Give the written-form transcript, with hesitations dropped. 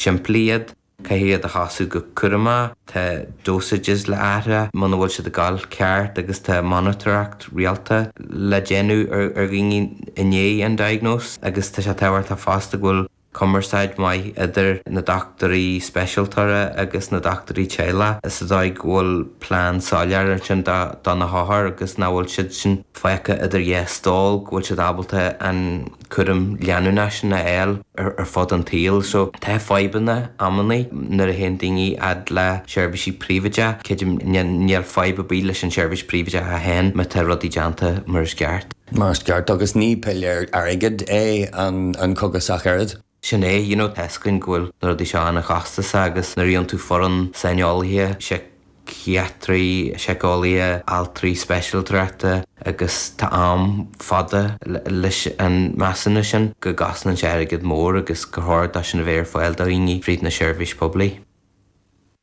simplí iad. Caithfidh iad a chosú go cúramach, tá dosages le athrú muna bhfuil siad ag gabháil ceart agus tá monatóireacht rialta le déanamh ar dhaoine i ndiaidh an diagnóis agus tá sé tábhachtach fosta go bhfuil cumarsáid mhaith idir na dochtúirí speisialtóra agus na dochtúirí teaghlaigh sa dóigh go bhfuil plean soiléir ansin do na hothair agus nach bhfuil siad sin fágtha idir dhá stól, go bhfuil siad ábalta an cúram leanúnach sin a fháil ar fud an tsaoil. So tá fadhbanna amannaí nuair a théann daoine fhad le seirbhísí príobháideach. Creidim níl fadhb ar bith leis an seirbhís príobháideach a fhéin má tá rudaí déanta mar is ceart. Mar is ceart, agus ní piléar airgid é an cogas ach oiread. Sin é, you know, tá 'fhios againn go bhfuil na rudaí seo an-chostasach agus nuair a gheobhann tú foireann saineolaithe, síciatraí, síceolaithe, altraí speisialtóireachta agus tá am fada leis an measúnú sin go gcosnaíonn sé airgead mór agus gur chóir dó sin a bheith ar fáil do dhaoine fríd na seirbhís poiblí.